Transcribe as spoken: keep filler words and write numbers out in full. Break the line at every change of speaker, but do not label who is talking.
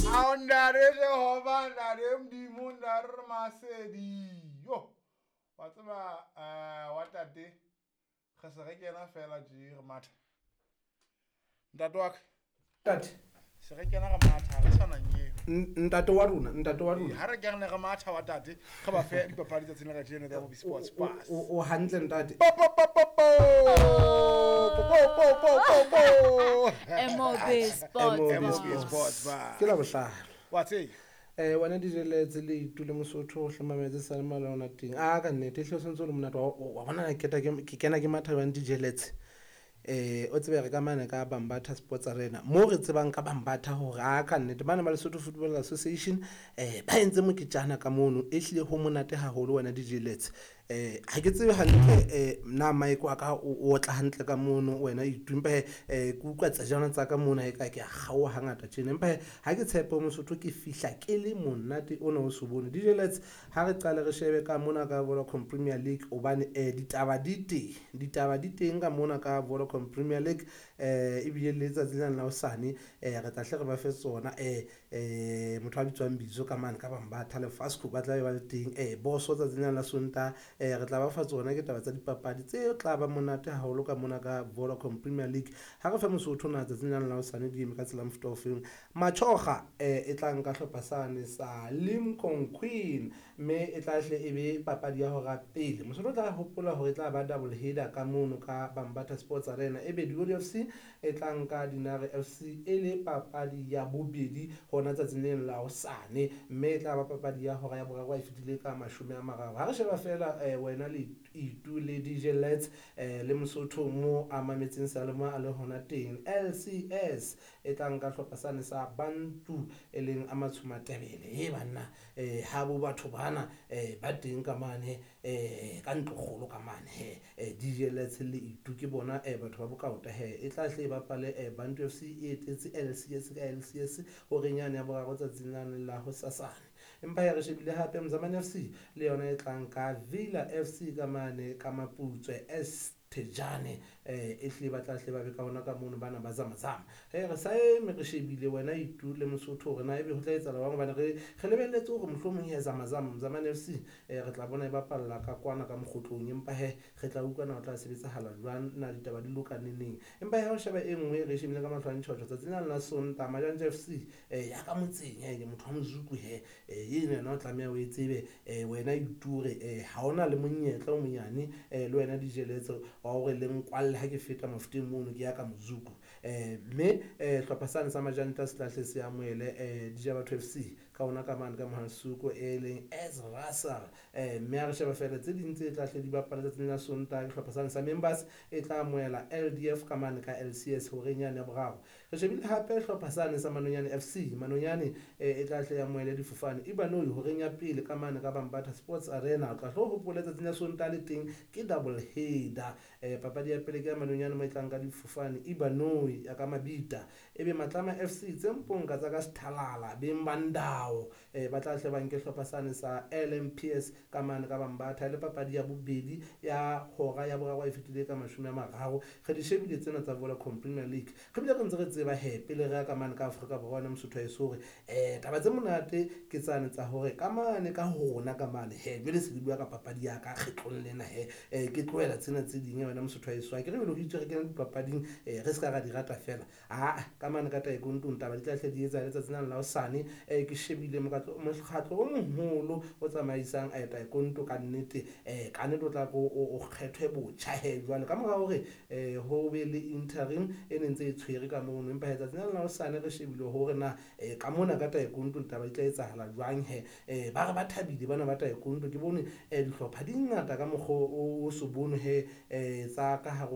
Ntate Jehova, ntate Modimo, ntate re masedi. Yo, wa tseba eh wa tate re se re kena fela tje re matha. Ntate wa ka,
Ntate,
se re kena re matha, re sa nanyeo.
N- ntate wa rona, ntate wa rona.
Ha re kene re matha wa tate, re ba fe dipapadi tsatsing la kajeno tsa Bobby Sports Pass.
O o hantle ntate.
Po po po po po. Po po po po po.
M O B Sports.
M O B
M O B
Bar.
Sports Bar.
Ke la bohlano.
Wa tseba.
Eh wena D J Letse le itule Mosotho o hlomametse sa le mala ona teng. A ka nnete hle o sentse o le monate wa wa bona ke keta ke ke kena ke matha jwang D J Letse. Eh o tsebe re ka mane ka Bambatha Sports Arena mo re tsebang ka Bambatha hore a ka nnete bana ba Lesotho Football Association eh ba entse moketjana ka mono e hlile ho monate haholo wena D J Letse. eh ha ke tsebe hantle eh na mic wa ka o o tla hantle ka mono wena itu, empa he eh ke utlwa tsejana tsa ka mona e ka ke a kgaoha hangata tjena, empa he ha ke tshepe Mosotho ke fihla ke le monate ona o se bone. D J Lets, ha re qale re shebe ka mona ka Vodacom Premier League hobane eh ditaba di teng, ditaba di teng ka mona ka Vodacom Premier League. eh ebile le letsatsi lena la hosane eh re tla hle re ba fe tsona. eh eh motho a bitswang Bitso ka mane ka Bambatha le Fasco ba tla be ba le teng. eh boso tsatsi lena la Sontaha eh re tla ba fa tsona, ke taba tsa dipapadi tse tla ba monate haholo ka mona ka Vodacom Premier League. Ha re fe Mosotho na tsatsing lena la hosane di eme ka tsela mofuta ofeng. Machoga eh e tla nka hlopha sane sa Lincoln Queen, mme e tla hle e be papadi ya hora pele. Mosotho o tla hopola hore e tla ba double header ka mono ka Bambatha Sports Arena, ebe Dioli F C e tla nka Dinare F C e le papadi ya bobedi hona tsatsing lena la hosane, mme e tla ba papadi ya hora ya boraro a e fetile ka mashome a mararo. Ha re sheba fela eh, wena le itu le D J Lets eh, le Mosotho mo a mametseng Salema a le hona teng, L C S e tla nka hlopha sane sa Bantu e leng a Matshomatebele e banna eh ha bo batho bana eh ba teng ka mane eh ka ntlokgolo ka mane he. eh, D J Lets le itu ke bona eh batho ba bokaota he. E tla hle e bapale eh, Bantu F C e etetse L C S ka L C S horeng yane ya boraro tsatsing lane la hosasane. Empa ya re shebile hape Mzamane F C le yona e tlang ka Villa F C ka mane ka Maputswe S Thejane eh e hle ba tla hle ba be ka ona ka mono bana ba zamazama. He re sa eme re shebile wena itu le Mosotho hore na ebe ho tla etsahala jwang hobane re re lebelletse hore mohlomong ya zamazama Mzamane F C eh re tla bona e bapalla ka kwana ka mokgotlong, empa he re tla utlwa na ho tla sebetsahala jwang, na ditaba di loka neneng. Empa he ha o sheba e nngwe re shebile ka mahlo a ntjhotjho tsatsing lena la Sontaha, Majanja F C eh ya ka motseng he, motho wa Mozuku he eh eno yena o tlameha o e tsebe eh wena itu hore eh ha ona le monyetla o monyane eh le wena dijeletso wa hore le nkwalle ha ke feta mafuteng mono ke ya ka Mozuku. eh mme eh hlopha sane sa Majanta se tla hle se amohele eh D J Batho F C ka ona ka mane ka Mohansuko e leng S Russell. eh mme ha re sheba fela tse ding tse tla hle di bapala tsatsing la Sontaha, ke hlopha sane sa Members e tla amohela L D F ka mane ka L C S horeng yane ya boraro. Re shebile hape hlopha sane sa Manonyane F C, Manonyane eh e tla hle ya amohele difofane Ibanoi horeng ya pele ka mane ka Bambatha Sports Arena. O tla hlo hopole tsatsing la Sontaha le teng ke double header. eh papadi ya pele ke ya Manonyane mo e tlang ka difofane Ibanoi ya ka Mabita, ebe Matlama F C tse mponka tsa ka Sethalala beng ba ndao eh ba tla hle ba nke hlopha sane sa L M P S ka mane ka Bambatha le papadi ya bobedi ya hora ya boraro e fetile ka mashome a mararo. Re di shebile tsena tsa Vodacom Premier League, re bile re ntse re tseba he pele re ya ka mane ka Afrika Borwa wena Mosotho haeso hore eh taba tse monate ke tsane tsa hore ka mane ka rona ka mane he jwale se di bua ka papadi ya ka kgetlong lena he eh ke tlohela tsena tse ding wena Mosotho haeso ha ke re jwale ho itswe re kena dipapading eh re se ka ra di rata fela. Aa ka mane ka taekwondo taba di tla hle di etsa letsatsi lena la hosane. eh ke shebile mokgatlo mokgatlo o moholo o tsamaisang eh taekwondo ka nnete eh ka nnete o tla ko o kgethwe botjha he jwale ka mora hore eh ho be le interim e ne ntse e tshwere ka mono, empa letsatsi lena la hosane re shebile hore na eh ka mona ka taekwondo taba di tla etsahala jwang he. eh ba re ba thabile bana ba taekwondo, ke bone eh dihlopha di ngata ka mokgwa o so bone he eh tsa ka hare.